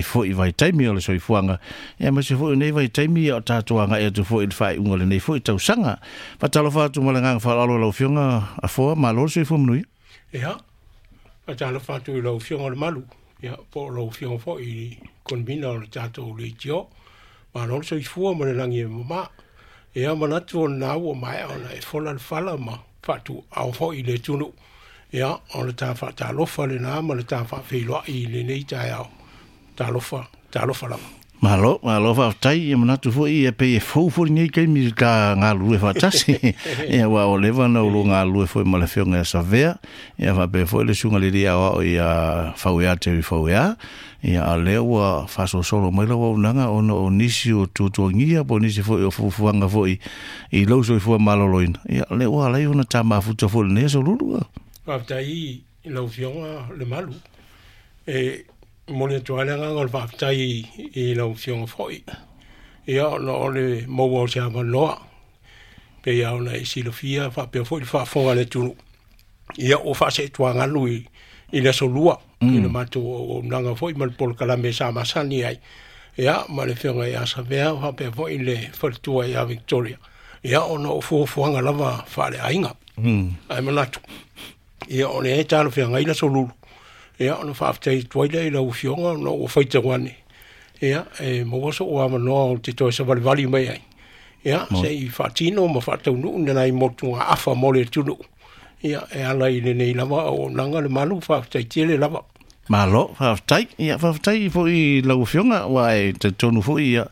Foi vaitaimi o le soifuaga, ia aemaise foi o nei vaitaimi o tatou agai atu foi i le faaiuga o lenei foi tausaga. Faatalofa atu ma le agaga faaaloalo i lau Afioga Afoa, malo le soifua manuia. Ia, faatalofa atu i lau Afioga Lemalu, ia, po o lau Afioga foi i le Konvina o le tatou leitio. Malo le soifua ma le lagi e mama. Ia, manatu o lena ua maea ona e fola le fala ma faatuao foi i le atunuu. Ia, o le ta faatalofa lena ma le ta faafeiloai i lenei taeao. Talofa, talofa lava. Malo, malo faafetai. Ia manatu foi ia pei e fou foi lenei taimi i ta galulue faatasi. Ia aua ua leva ona ou galulue foi ma le Afioga ia Savea, ia faapea foi le Susuga i le Alii Aoao ia Fauea Terry Fauea. Ia a o lea ua faasolosolo mai lau auaunaga ona o nisi o tuatuagia po o nisi foi o fuafuaga foi i lou soifua maloloina. Ia lea ua ala ai ona ta mafuta foi i lenei aso Lulu. Faafetai i lau Afioga Lemalu. E momoli atu ai le agaga o le faafetai i lau Afioga foi, ia, ona o le maua o se avanoa. Pei lava ona e silafia faapea foi le faafofoga a le atunuu, ia, ua faaseetuagalu i le aso Lua i le matou auaunaga foi ma le polokalame sa masani ai, ia, ma le Afioga ia Savea faapea foi le faletua ia Victoria, ia, ona o fuafuaga lava faaleaiga. Ae manatu, ia, o lea e talafeagai le aso Lulu, ia, ona faafetai atu ai lea i lau Afioga ona ua faitau ane, ia, e maua sou avanoa ou te toe savalivali mai ai, ia, se i faatino ma faataunuu nai motugaafa mo le atunuu, ia, e ala i lenei lava auaunaga le malu. Faafetai tele lava. Malo, faafetai. Ia, faafetai foi i lau Afioga, aua e talitonu foi, ia,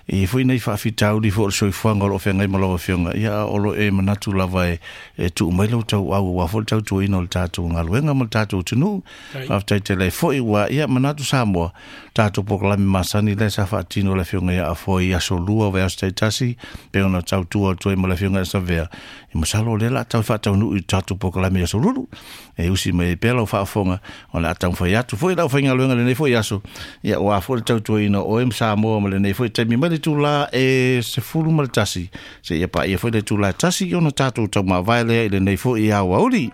e i ai foi nai faafitauli foi o le soifuaga o lo o feagai ma lau Afioga, ia, o lo o e manatu lava e tuu mai lau tauau aua foi le tautuaina o le tatou galuega ma le tatou atunuu. Faafetai tele ai foi, ua ia manatu Samoa, tatou polokalame masani lea sa faatino e le Afioga ia Afoa i aso Lua o vaiaso taitasi, pei ona tautua atu ai ma le Afioga ia Savea. E masalo o lea o le a tau faataunuu i le tatou polokalame i aso Lulu. E usi mai ai pea lau faafofoga, o le a taumafai atu foi le aufaigaluega i lenei foi aso, ia aua foi le tautuaina o oe ma Samoa ma lenei foi taimi mai le itula e 11 seia paia foi le itula e 1 ona tatou taumavae lea i lenei foi aoauli.